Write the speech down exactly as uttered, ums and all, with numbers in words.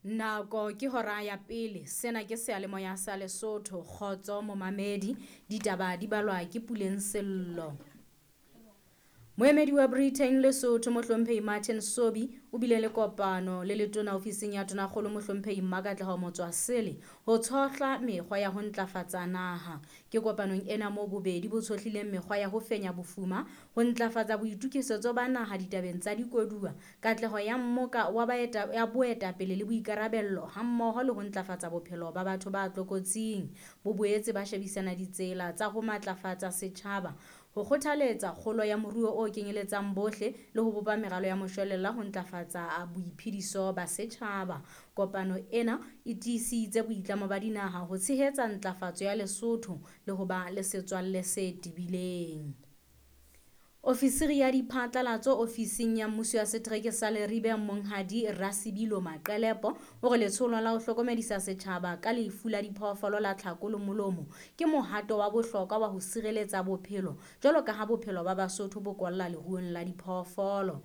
Nako ke hora ya pele. Sena ke seyalemoya sa Lesotho. Kgotso momamedi. Ditaba di balwa ke Puleng Sello. Moemedi wa Britain Lesotho Mohlomphehi Martin Sobi o bile le kopano le letona ofising ya Tonakgolo Mohlomphehi Mmakatleho Motswasele ho tshohla mekgwa ya ho ntlafatsa naha. Ke kopanong ena moo bobedi bo tshohlileng mekgwa ya ho fenya bofuma, ho ntlafatsa boitokisetso ba naha ditabeng tsa dikoduwa, katleho ya mmoka wa baeta ya boetapele le boikarabello hammoho le ho ntlafatsa bophelo ba batho ba tlokotsing. Bo boetse ba shebisana ditsela tsa ho matlafatsa setjhaba, ho kgothaletsa kgolo ya moruo o kenyeletsang bohle le ho bopa meralo ya moshwelella ho ntlafatsa boiphediso ba setjhaba. Kopano ena e tiisitse boitlamo ba dinaha ho tshehetsa ntlafatso ya Lesotho le ho ba le setswalle se tebileng. Ofisiri ya diphatlalatso ofising ya mmuso ya setereke sa Leribe Monghadi Rasebilo Maqelepo o re letsholo la ho hlokomedisa setjhaba ka lefu la diphoofolo la tlhako le molomo ke mohato wa bohlokwa wa ho sireletsa bophelo jwalo ka ha bophelo ba Basotho bo kolla leruong la diphoofolo.